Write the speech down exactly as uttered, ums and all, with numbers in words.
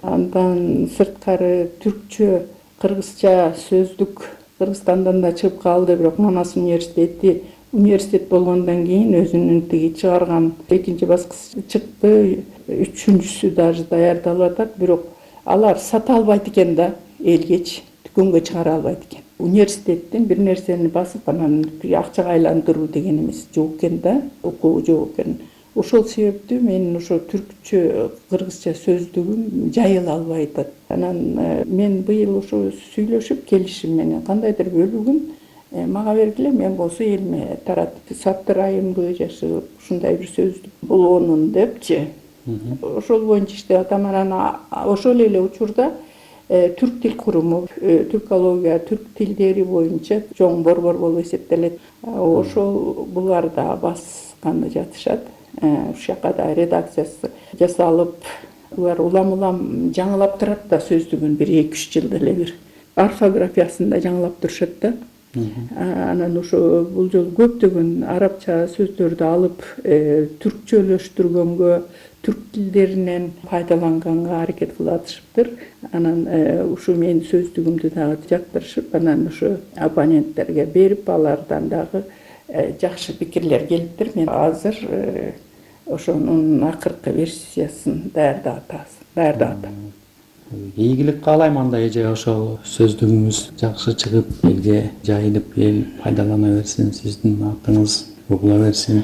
Андан сырткары түркчө, кыргызча сөздүк Кыргызстандан да чыгып калды, бирок Манас университети университет болгондон кийин өзүнүн тиги чыгарган экинчи баскыч чыкты, үчүнчүсү даже даярдалып атат, бирок алар сата албайт экен да, элгеч дүкөнгө чыгара албайт экен. Университеттин бир нерсени басып анан акчага айландыруу деген эмес жок экен да, окуу жок экен. Ошол себептүү мен ошо түркчө, кыргызча сөздүгүм жайыла албай атат. Анан мен быйыл ошо сүйлөшүп келишим менен кандайдыр бөлүгүн мага бергиле, мен болсо элиме таратып саттырайынбы жашы ушундай бир сөздүк болгонун депчи. Ошол боюнча иштеп атам. Анан ошол эле учурда түрк тил куруму, түркология, түрк тилдери боюнча чоң борбор болуп эсептелет. Ошол булар да басканы жатышат. Ушул жака да редакциясы жасалып, булар улам улам жаңылап турат да сөздүгүн, бир эки үч жылда эле бир орфографиясын да жаңылап турушат да. Анан ошо бул жолу көптөгөн арабча сөздөрдү алып түркчөлөштүргөнгө, түрк тилдеринен пайдаланганга аракет кылып атышыптыр. Анан ушу менин сөздүгүмдү дагы жактырышып, анан ошо оппоненттерге берип, алардан дагы жакшы пикирлер келиптир. Мен азыр ошонун акыркы версиясын даярдап атабыз, даярдап атам. Ийгилик каалайм анда эже, ошол сөздүгүңүз жакшы чыгып, элге жайылып, эл пайдалана берсин, сиздин атыңыз угула берсин.